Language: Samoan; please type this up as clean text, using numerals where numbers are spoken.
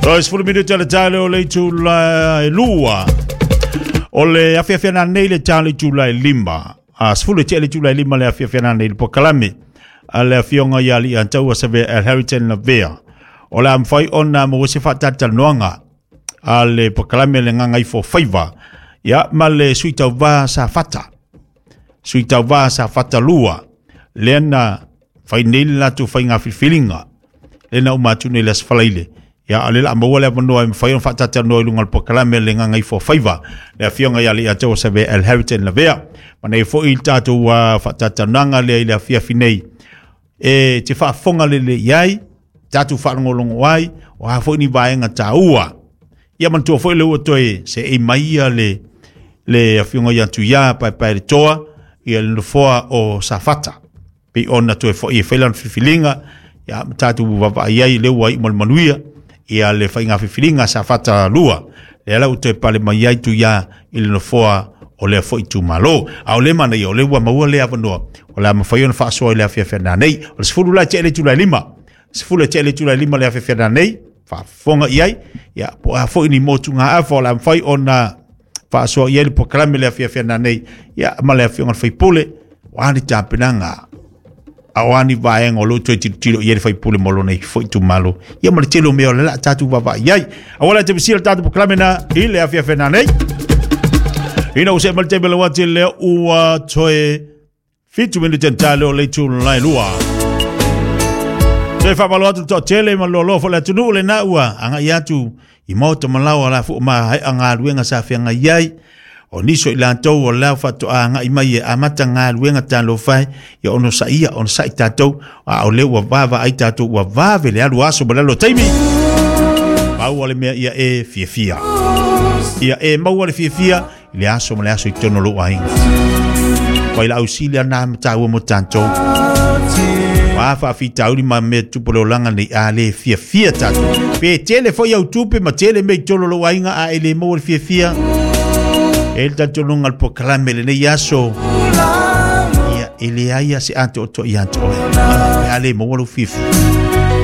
Toe 10 minute le tae leo le itula e 2. O le afiafi nei le tae le itula e 5. A 10 tea le itula e 5 le afiafi nei le polokalame a le afioga ia Alii Savea Al Harrington Lavea. O le a mafai ona maua se faatalatalanoaga a le polokalame le Gagaifofaiva ia ma le sui tauva Safata. Sui tauva Safata 2 lea na fai nei le latou faiga filifiliga lea na uma atu nei le Aso Faraile. Ia o le la maua le avanoa e mafai ona faatalatalanoa i luga o le polokalame le Gagaifofaiva le afioga ia Alii Savea Al Harrington Lavea. Ma nei foi le tatou faatalatalanoaga lea i le afiafi nei e te faafofoga lelei i ai, tatou faalogologo ai, o a foi ni vaega taua. Ia manatua foi le ua toe seei mai ia le afioga ia Tuia Paepae le Toa, ia le nofoa o Safata. Pei ona toe foi e fai lana filifiliga, ia ma tatou vaavaai ai lea ua iu ma le manuia, ia le faiga filifiliga Safata 2. Lea la ua toe pale mai ai Tuia i le nofoa o lea foi itumalo. A o le manaia, o lea ua maua le avanoa, o le a mafai ona faasoa i le afiafi nei. O le 10 la tea le itula e 5. 10 tea le itula e 5 le afiafi nei, faafofoga i ai, ia po a foi ni motugaafa o le a mafai ona faasoa i ai le polokalame le afiafi nei, ia ma le afioga i le sui usufono, o a ni tapenaga, a o a ni vaega o lo o toe tilotilo i ai le sui usufono mo lona foi itumalo. Ia ma le tele o mea o le a tatou vaavaai i ai. Aua le te misia le tatou polokalame na i le afiafi nei. Ina ua see mai le taimi lau ati lea ua toe 7 minute tale o le itula e 2. Toe faamalo atu le toatele ma le loaloa foi le atunuu lena ua agai atu i maota ma laoa la fua ma haea galuega sa feagai ai. O nisi o i latou o lea faatoa agai mai e amata galuega talofa e, ia ono saia, ono sai tatou, a o lea ua vaavaai tatou ua vave le alu aso ma le alu o taimi. Maua le mea ia e fiafia. Ia e maua le fiafia i le aso ma le aso i totonu o lou aiga. Failausi lea na mataua mo tatou. Wa faafitauli ma mea tupu le olaga nei a le fiafia tatou. Pe tele foi au tupe ma tele mea i totonu o lou aiga a e le maua le fiafia. E le talitonuga le polokalame lenei aso. Ia e leai lava se atoatoa ia te oe. Pe a le maua lou fiafia.